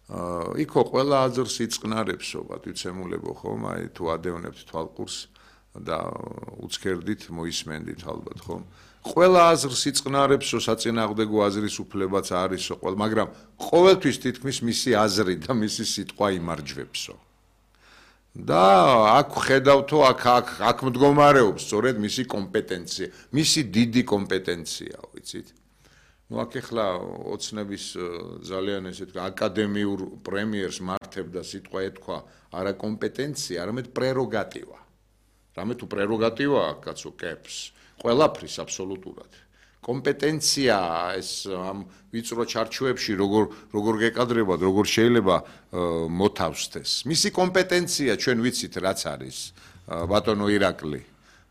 იქო ყველა აზრს იწყნარებსო, ვიცემულებო ხომ, აი თუ ადევნებთ თვალყურს და უცქერდით მოისმენდით ალბათ ხომ. ყველა აზრს იწყნარებსო, საწინააღმდეგო აზრის უფლებაც არისო, მაგრამ ყოველთვის თითქმის მისი აზრი და მისი სიტყვა იმარჯვებსო. და აქ ხედავთო, აქ მდგომარეობს სწორედ მისი კომპეტენცია, მისი დიდი კომპეტენცია, ვიცით? Ну, აქ ახლა ოცნების ძალიან ესეთ აკადემიურ პრემიერს მართებდა სიტყვა ეთქვა არა კომპეტენცია, არამედ პრეროგატივა. რამე თუ პრეროგატივა აქვს კაცო კეფს, ყველაფრის აბსოლუტურად. კომპეტენცია ეს ამ ვიწრო ჩარჩოებში როგორ გეკადრებათ, როგორ შეიძლება მოთავსდეს. მისი კომპეტენცია ჩვენ ვიცით რაც არის, ბატონო ირაკლი.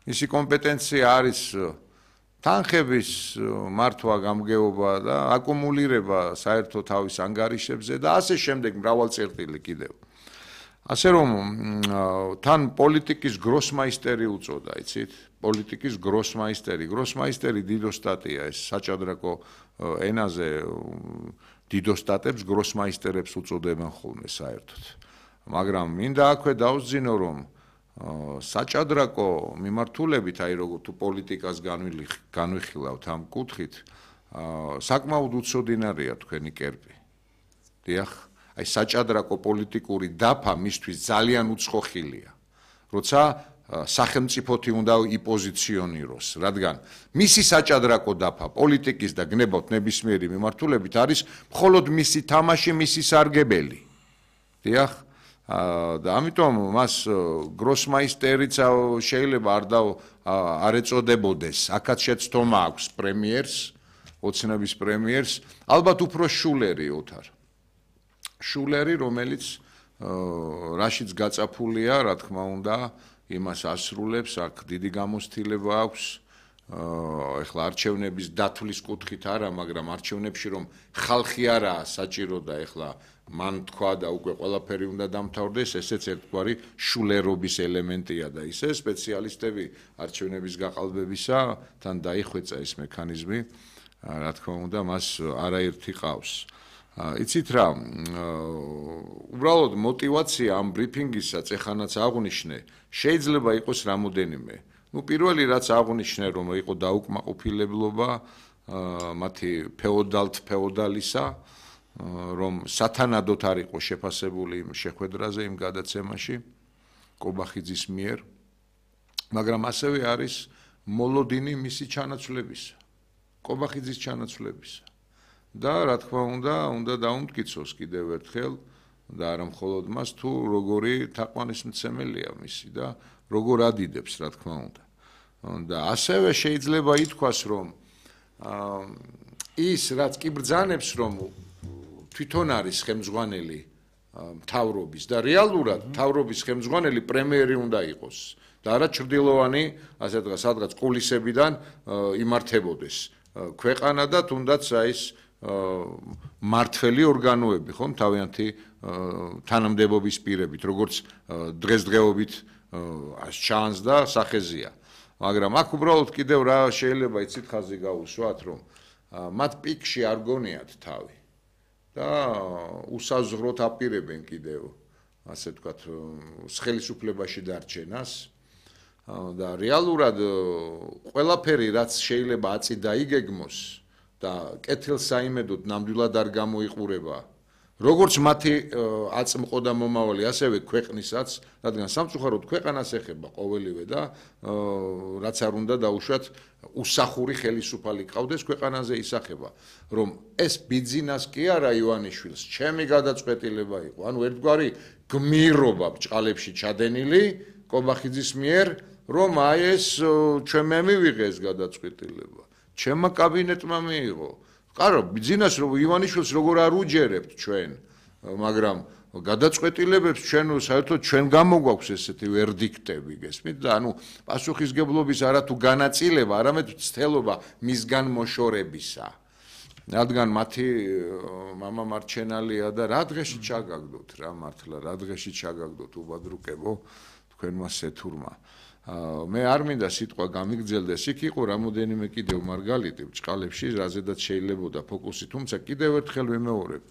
მისი კომპეტენცია არის თანხების მართვა, გამგეობა და აკუმულირება საერთო თავის ანგარიშებზე და ასე შემდეგ მრავალწერტილი კიდევ. ასე რომ თან პოლიტიკის გროსმაისტერი უწოდა, იცით? პოლიტიკის გროსმაისტერი დიდოსტატია ეს საჭადრაკო ენაზე დიდოსტატებს გროსმაისტერებს უწოდებენ ხოლმე საერთოდ. მაგრამ მინდა აქვე დავსძინო რომ საჭადრაკო მიმართულებით, აი როგორ თუ პოლიტიკას განვიხილავთ ამ კუთხით, საკმაოდ უცოდინარია თქვენი კერპი. დიახ, აი საჭადრაკო პოლიტიკური დაფა მისთვის ძალიან უცხო ხილია. როცა სახელმწიფოთი უნდა იპოზიციონიროს, რადგან მისი საჭადრაკო დაფა პოლიტიკის და გნებავთ ნებისმიერი მიმართულებით არის მხოლოდ მისი თამაში, მისი სარგებელი. დიახ, და ამიტომ მას გროსმაისტერიც შეიძლება არ ეწოდებოდეს, აქაც შეცდომა აქვს პრემიერს, ოცნების პრემიერს, ალბათ უფრო შულერი ოთარ. შულერი, რომელიც რაშიც გაწაფულია, რა თქმა უნდა, იმას ასრულებს, აქ დიდი გამოცდილება აქვს, ეხლა არჩევნების დათვლის კუთხით არა, მაგრამ არჩევნებში რომ ხალხი არაა საჭირო და ეხლა მან თქვა და უკვე ყველაფერი უნდა დამთავრდეს, ესეც ერთგვარი შულერობის ელემენტია და ისე სპეციალისტები არჩევნების გაყალბებისა თან დაიხვეწა ეს მექანიზმი, რა თქმა უნდა, მას არაერთი ყავს. იცით რა, უბრალოდ мотивация ამ ბრიფინგისაც ეხანაც აღვნიშნე, შეიძლება იყოს რამოდენიმე. Ну, პირველი რაც აღვნიშნე, რომ იყო დაუკმაყოფილებლობა მათი ფეოდალისა, რომ სათანადოდ არ იყო შეფასებული იმ შეხვედრაზე, იმ გადაცემაში კობახიძის მიერ, მაგრამ ასევე არის მოლოდინი მისი ჩანაცვლებისა, კობახიძის ჩანაცვლებისა. და რა თქმა უნდა დაუმტკიცოს კიდევ ერთხელ და არა მხოლოდ მას თუ როგორი თაყვანისმცემელია მისი და როგორ ადიდებს რა თქმა უნდა. და ასევე შეიძლება ითქვას რომ ის რაც კი ბრძანებს რომ თვითონ არის ხელმძღვანელი მთავრობის და რეალურად მთავრობის ხელმძღვანელი პრემიერი უნდა იყოს და არა ჩრდილოვანი ასე ვთქვათ სადღაც კულისებიდან იმართებოდეს ქვეყანა და თუნდაც ის მართველი ორგანოები ხომ თავიანთი თანამდებობის პირებით როგორც დღესდღეობით ჩანს და სახეზია მაგრამ აქ უბრალოდ კიდევ რა შეიძლება იცით ხაზი გაუსვათ რომ მათ პიკში არ გონიათ თავი და უსაზღვროდ აპირებენ კიდევ ასე ვთქვათ ხელისუფლებაში დარჩენას და რეალურად ყველაფერი რაც შეიძლება აწი დაიგეგმოს და კეთილსაიმედოდ ნამდვილად არ გამოიყურება როგორც მათი აწმყო და მომავალი ასევე ქვეყნისაც რადგან სამწუხაროდ ქვეყანას ეხება ყოველივე და რაც არ უნდა დაუშვათ უსახური ხელისუფალი ყავდეს ქვეყანაზე ისახება რომ ეს ბიძინას კი არა ივანიშვილს ჩემი გადაწყვეტილება იყო ანუ ერთგვარი გმირობა ბჭყალებში ჩადენილი კობახიძის მიერ რომ აი ეს ჩვენ მე მივიღე ეს გადაწყვეტილება ჩემმა კაბინეტმა მიიღო ყარო ბიძინას რომ ივანიშვილს როგორ არ უჯერებთ ჩვენ მაგრამ გადაწყვეტილებებს ჩვენ საერთოდ ჩვენ გამოგვაქვს ესეთი ვერდიქტები გესმით და ანუ პასუხისგებლობის არა თუ განაწილება არამედ ცდელობა მისგან მოშორებისა რადგან მათი მამა მარჩენალია და რა დღეში ჩაგაგდოთ რა მართლა რა დღეში ჩაგაგდოთ უბადრუკებო თქვენმა სეთურმა მე არ მინდა სიტყვა გამიგრძელდეს იქ იყო რამოდენიმე კიდევ მარგალიტი ბჭყალებში რაზედაც შეიძლებოდა ფოკუსი თუმცა კიდევ ერთხელ ვიმეორებ